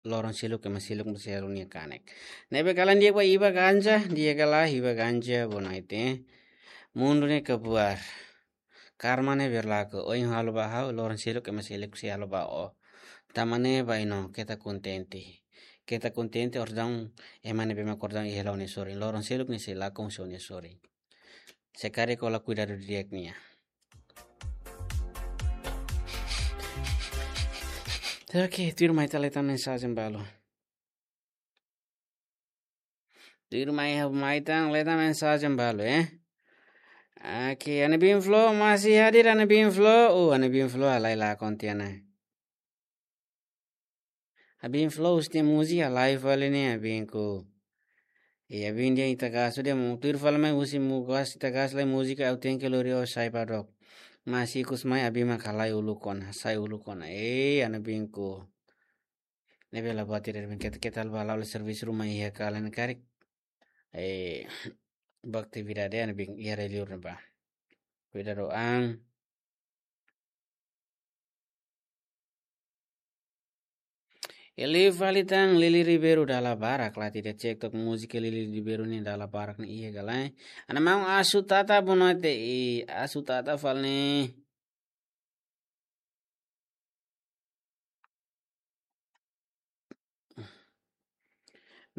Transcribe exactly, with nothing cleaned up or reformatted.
loron seluk ema seluk mós selu nia kanek. Ne'ebé kalan di'ak ba iba ganja, di'ak ka lae iba ganja, bonoite. Mundu ne'e kabuar. Karma ne'e berlaku, ohin halo ba ha'u, loron seluk ema seluk sei halo ba ó. Tanba ne'e ba ino, keta kontente. Keta kontente, orsida ema ne'ebé mak orsida iha hela nia sorin. Loron seluk nia sei lakon husi nia sorin. Se karik ó la kuidadu di'ak nia. Oke, tuirmai ita leta mensajen balu. Tuirmai ha'u mai tan leta mensajen balu, eh. Oke, Ana Bin Flow masih hadir, Ana Bin Flow. Oh, Ana Bin Flow halai lakon tiha ona. Abin Flow husi múzika live fali ne'e, abinku. E abin dehan ita gasu dehan mu tuir fali mai husi mu gas ita gas lai múzika, ha'u tenke lori ó sai padok. Mas ikus mai abin mak halai uluk ona, sai uluk ona. E, Ana Binku. Ne'ebé la buat ida, abin, keta, keta la bá halo servisu ruma iha kalan karik. E, ba atividade, Ana Bin, iha rai-liur ne'ebá. Kuidadu an. E liu fali tan Lili Ribeiro dala barak, la ita cek tok múzika Lili Ribeiro ne'e dala barak ne'e iha ka lae. Ana maun Asu Tata, boa noite. I Asu Tata fali ne'e.